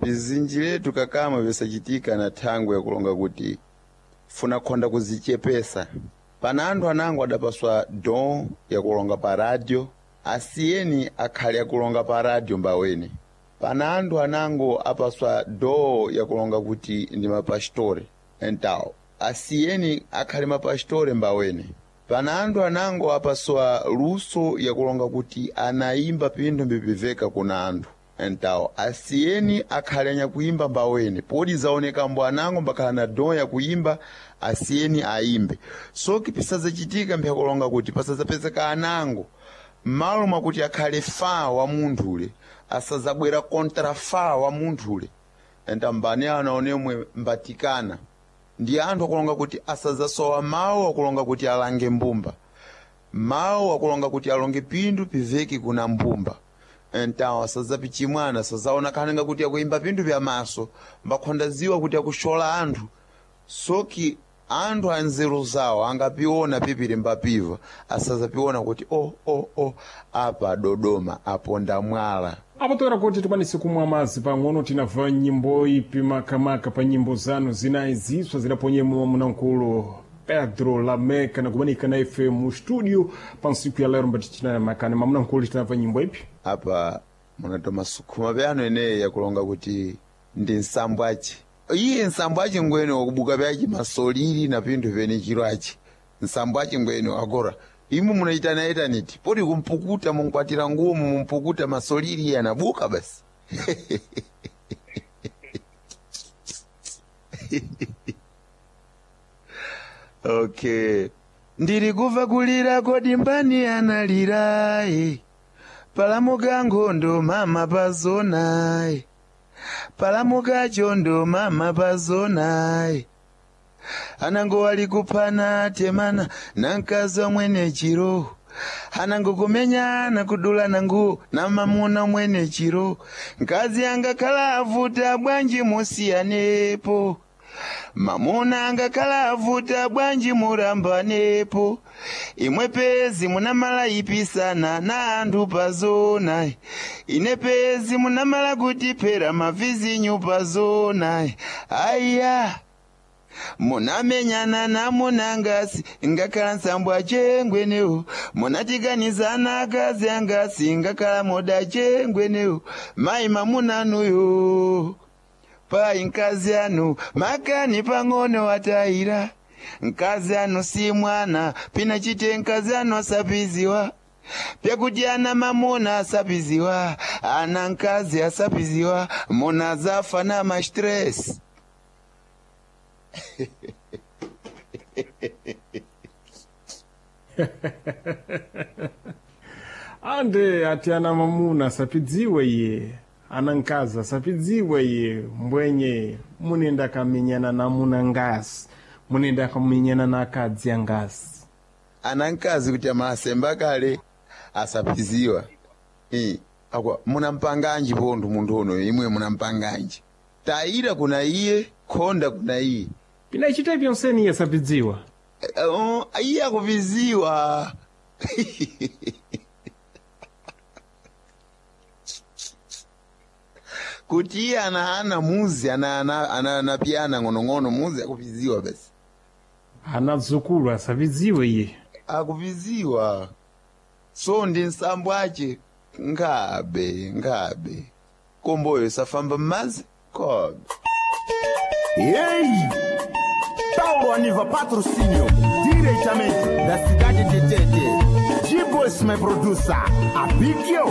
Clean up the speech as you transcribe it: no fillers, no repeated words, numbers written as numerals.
Pizinji letu kakama vyosachitika na thangwe yakulonga kuti funa khonda kuzichepesa. Pana anthu anango adapaswa don yakulonga pa radio, asiyeni akhale akulonga pa radio mbawene. Pana anthu anango apaswa do yakulonga kuti ndi mapastore entawo, asiyeni akhale mapastore mbawene. Pana anthu anango apaswa luso yakulonga kuti anayimba pinthu mbipiveka kuna anthu entawo, asiyeni akhale anyakuimba mbawene. Podi zaoneka mbo anango mbakhala na don yakuyimba, asiyeni ayimbe. Soki pisazachitika mpyakulonga kuti pasazapezeka anango m'malo mwakuti akhale fa wa munthule, asazabwera kontra fa wa munthule. Enta mbani ana onemwe mbatikana ndi anthu akulonga kuti asazasowa mawu akulonga kuti alange mbumba, mawu akulonga kuti alonge pinthu piveki kuna mbumba. Entawo asazapichimwana, asazaona khanenga kuti akuyimba pinthu pya maso, mbakhondaziwa kuti akushola anthu. Soki anthu anzeru zawo angapiona pipili mbapiva, asazapiona kuti o o o apa Dodoma aponda mwala. Apo toera kuti tikwanise kumwa madzi pang'ono, tinamva nyimbo ipi makamaka pa nyimbo zanu zinayi ziswa zidaponyemo munamkulu Pedro Lameca nakumanika na ife mu studio pa ntsiku ya lero mbatichina makani mamunamkulu, tinamva nyimbo ipi? Apa munatoma sukhuma pyano ineyi yakulonga kuti ndi nsambo aci. Iye nsambo aci ngwene wakubuka pyaci masolili na pinthu pene chiro aci nsambo aci ngwene agora imwe munaitanayitaniti poti kumpukuta munkwatira nguwo mumpukuta masolili iye anabuka basi. Okay, ndiri kuva kulira kodi mbani analirayi palamuka nkhondo mama pazonayi, palamuka chondo mama pazonayi, anango wali kuphana temana na mkazi wamwene chiro, anango kumenyana kudulana nguwo na mamuna mwene chiro, mkazi angakhala avuta bwanji musiyanepo, mamuna angakhala avuta bwanji murambanepo, imwe pezi munamala ipisana na anthu pazona, ine pezi munamala kutiphera mavizinyu pazona, aiya munamenyana namunangasi ngakhala nsambo achengwenewo, munatikanizana akazi angasi ngakhala moda achengwenewo, mayi mamunanuyo payi mkazi anu makani pang'ono atayira, mkazi anu si mwana pina chite mkazi anu asapiziwa pyakuti ana mamuna asapiziwa, ana mkazi asapiziwa, muna zafa na mastress. Ande ati ana mamuna asapidziwe iye, ana mkazi asapidziwe iye, mbwenye munenda kamenyana na muna ngasi, munenda kamenyana na akadzi angasi. Ana mkazi kuti amasemba kale asapiziwa. Akwa munampanganji pontho munthu uno imwe munampanganji tayira kuna iye khonda kuna iye Pinachita pyonseni iye asapidziwa. Iye akupiziwa. Kuti iye ana muzi ana ng'onong'ono muzi akupiziwa basi. Ana dzukulu asapidziwe iye. Akupiziwa. So ndi nsambo ace ngabe ngabe komboyo safamba m'madzi kobe. Ei! Paulo Aniva Patrocínio, diretamente da cidade de Tete. G-Boys, my producer, Abigio.